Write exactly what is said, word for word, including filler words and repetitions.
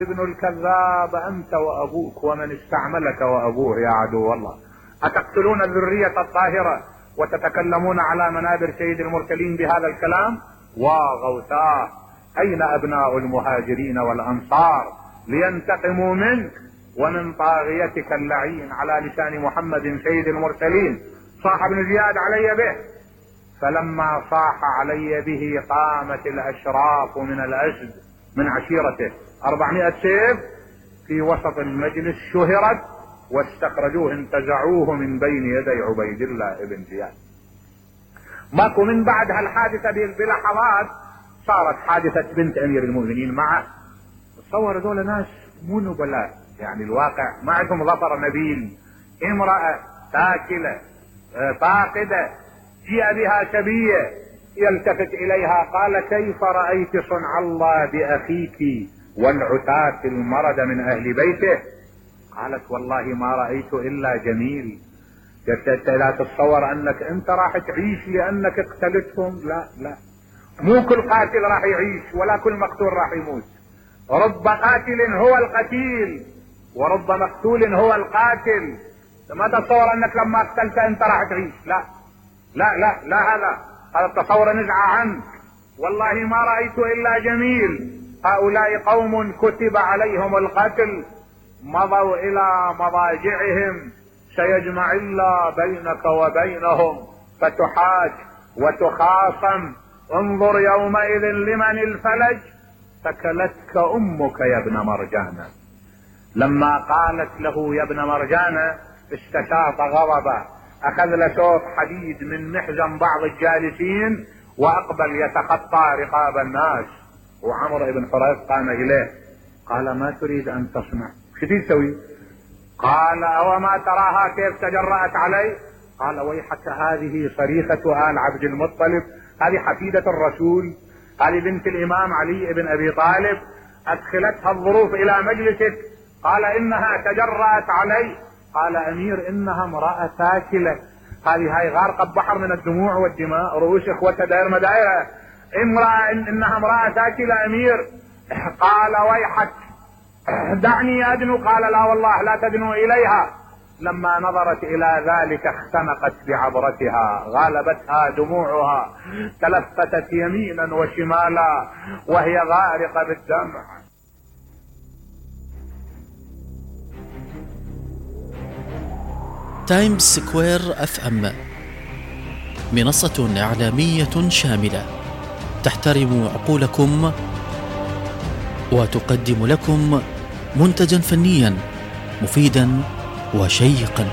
ابن الكذاب أنت وأبوك ومن استعملك وأبوه يا عدو الله. أتقتلون الذرية الطاهرة وتتكلمون على منابر سيد المرسلين بهذا الكلام؟ وغوثاه، أين أبناء المهاجرين والأنصار لينتقموا منك ومن طاغيتك اللعين على لسان محمد سيد المرسلين؟ صاح ابن زياد علي به، فلما صاح علي به قامت الأشراف من الأسد من عشيرته أربعمائة سيف في وسط المجلس، شهرت واستخرجوه انتزعوه من بين يدي عبيد الله بن زياد. ماكو من بعد هالحادثة بلحظات صارت حادثة بنت أمير المؤمنين معه. تصور دول ناس مو نبلاء، يعني الواقع ما عندهم ظفر نبيل، امرأة تاكلة فاقدة جيء بها شبية، يلتفت إليها قال كيف رأيت صنع الله بأخيك والعتاة المرض من أهل بيته؟ قالت والله ما رأيت إلا جميل. لا تتصور أنك أنت راح تعيش لأنك اقتلتهم، لا لا، مو كل قاتل راح يعيش ولا كل مقتول راح يموت. رب قاتل هو القتيل ورب مقتول هو القاتل. ما تتصور أنك لما اقتلت أنت راح تعيش، لا لا لا لا، هذا هذا التصور نزع عنك. والله ما رأيت إلا جميل. هؤلاء قوم كتب عليهم القتل، مضوا إلى مضاجعهم، سيجمع الله بينك وبينهم فتحاج وتخاصم. انظر يومئذ لمن الفلج، ثكلتك أمك يا ابن مرجانة. لما قالت له يا ابن مرجانة استشاط غضبا، أخذ له سوف حديد من محزن بعض الجالسين وأقبل يتخطى رقاب الناس. وعمر بن حريث قام إليه قال ما تريد أن تصنع؟ شو تسوي؟ قال أوما تراها كيف تجرأت علي؟ قال ويحك، هذه صريخة آل عبد المطلب، هذه حفيدة الرسول، هذه بنت الإمام علي بن أبي طالب، أدخلتها الظروف إلى مجلسك. قال إنها تجرأت علي. قال أمير إنها امرأة تاكلة، هذه هاي غارقة بحر من الدموع والدماء، رؤوس إخوتها داير مدايرة، امرأة إنها امرأة تاكلة أمير. قال ويحك دعني أدنو. قال لا والله لا تدنو إليها. لما نظرت إلى ذلك اختنقت بعبرتها، غالبتها دموعها، تلفتت يمينا وشمالا وهي غارقة بالدمع. تايمز سكوير اف ام، منصة إعلامية شاملة تحترم عقولكم وتقدم لكم منتجا فنيا مفيدا وشيقا.